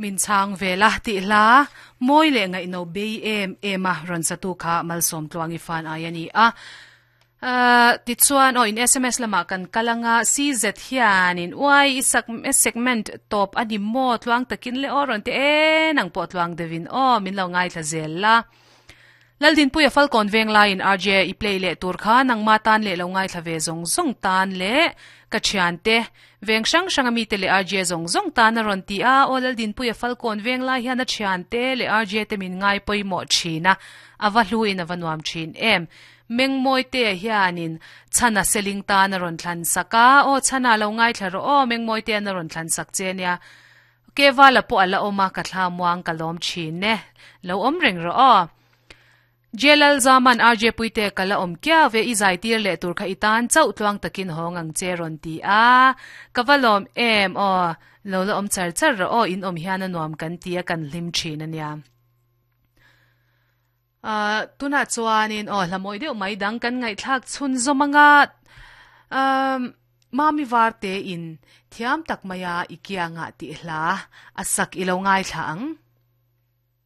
Min chhang vel a tih hla mawi leh ngaihno bei em em a rawn satu kha Malsawm Tluangi fan ai a ni a. Tichuan aw in sms lamah kan kal anga CZ hianin uai i sak segment tawp a ni maw tluang takin le aw rawn ti e nang pawh tluang deuhin aw min lo ngaithla zel la. Laldinpuia Falkawn veng laiin RJ i play leh tur kha nangma tan leh lo ngaithla ve zawng zawng tan leh ka thiante veng hrang hrang ami te leh RJ zawng zawng tan a rawn ti a, aw Laldinpuia Falkawn veng lai hian a thiante leh RJ te min ngai pawimawh thin a, a va hlu in a va nuam thin em. Mengmawite hianin Chhana Seling tan a rawn thlan sak a, aw Chhana lo ngaithla rawh aw Mengmawitean a rawn thlan sak che nia. Kevala pawh a la awm a, ka thla muang ka lawm thin e. Lo awm reng rawh aw. Jelal Zaman RJ Puite ka la awm kiau ve, i zai tir leh tur kha i tan chauh tluang takin hawng ang che rawn ti a. Ka va lawm em aw. Lo la awm char char rawh aw, in awm hian a nuam kan ti a, kan hlim thin a nia. Ahh tunah chuanin aw hla mawi deuh mai dang kan ngaihthlak chhun zawm anga ahh Mami Varte in thiam tak maia i kiangah tih hla a sak i lo ngaithla ang.